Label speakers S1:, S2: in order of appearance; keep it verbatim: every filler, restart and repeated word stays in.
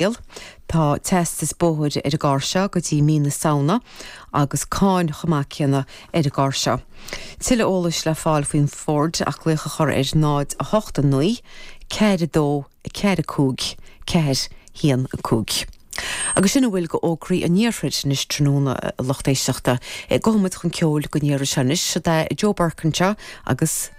S1: Tá teastas bóthair ar an gcarr seo go dtí mí na Samhna agus cáin chomh maith céanna ar an gcarr seo. Tuilleadh eolais le fáil faoin Ford ach glaoch a chur ar náid a hocht a naoi, ceathair dó ceathair cúig, ceathair haon cúig. Agus sin a bhfuil d'fhógraí an iarthair anois tráthnóna lucht éisteachta. Gabhfaidh muid chun ceoil don iarraidh seo anois de Joe Burke anseo agus